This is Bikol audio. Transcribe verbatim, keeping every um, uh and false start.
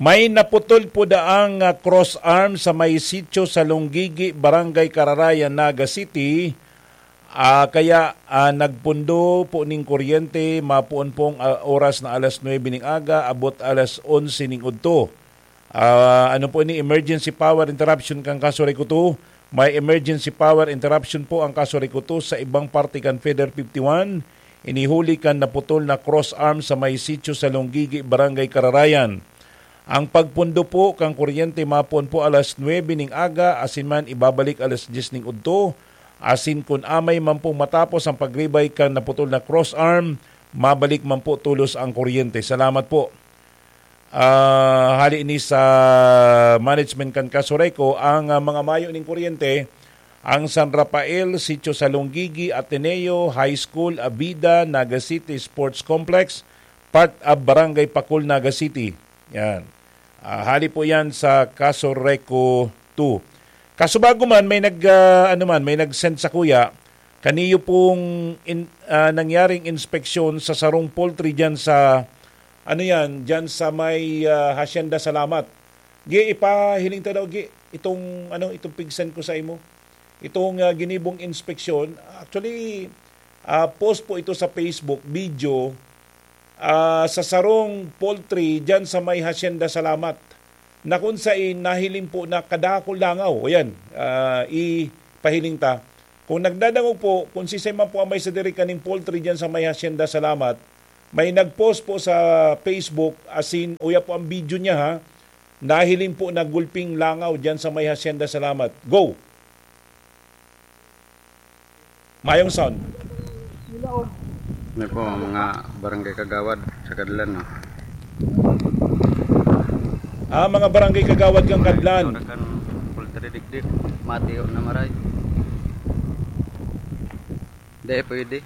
May naputol po daang, ah, cross arm sa may sitio sa Lunggigi, Barangay Kararayan, Naga City. Ah, kaya, ah, nagpundo po ning kuryente, mapoon pong, ah, oras na alas nuebe ning aga, abot alas onse ning udto. Ah, ano po ini, emergency power interruption kan Kaso Reco two? May emergency power interruption po ang Kaso Reco two sa ibang parte kan Feder fifty-one. Ini huli kan naputol na cross arm sa may sitio sa Lunggigi, Barangay Kararayan. Ang pagpundo po kan kuryente mapoon po alas nuebe ning aga, asin man ibabalik alas dyes ning udto, asin kun amay man pong matapos ang pagribay kan naputol na cross arm, mabalik man po tolos ang kuryente. Salamat po. Ah, hali ini sa management kan Kaso Reco, ang, ah, mga mayo ning kuryente, ang San Rafael, Sitio sa Lunggigi, Ateneo, High School, Abida, Naga City Sports Complex, part of Barangay Pacol, Naga City. Yan. Ah, hali po yan sa Kaso Reco two. Kaso bago man, may nag, ah, ano man, may nag-send sa kuya, kaniyo pong in-, ah, nangyaring inspeksyon sa sarong poultry dyan sa, ano yan, dyan sa may, ah, Hacienda Salamat. Gi, ipahiling ta daw, Gi, itong, ano, itong pig-send ko sa imo. Itong, ah, ginibong inspeksyon. Actually, ah, post po ito sa Facebook, video, ah, sa sarong poultry dyan sa may Hacienda Salamat, na kung sain nahiling po na kadakul langaw. O yan, ah, ipahiling ta. Kung nagdadangog po, kung sisay man po ang may sadiri kaning poultry dyan sa may Hacienda Salamat, may nag-post po sa Facebook, asin uya po ang video niya, ha, nahiling po na gulping langaw dyan sa may Hacienda Salamat. Go! Mayong sound. Ano po, mga barangay kagawad sa Kadlan, no? Ah, mga barangay kagawad kang Kadlan. Ito na kan poultry digdig, matiyo na maray. Di pwede.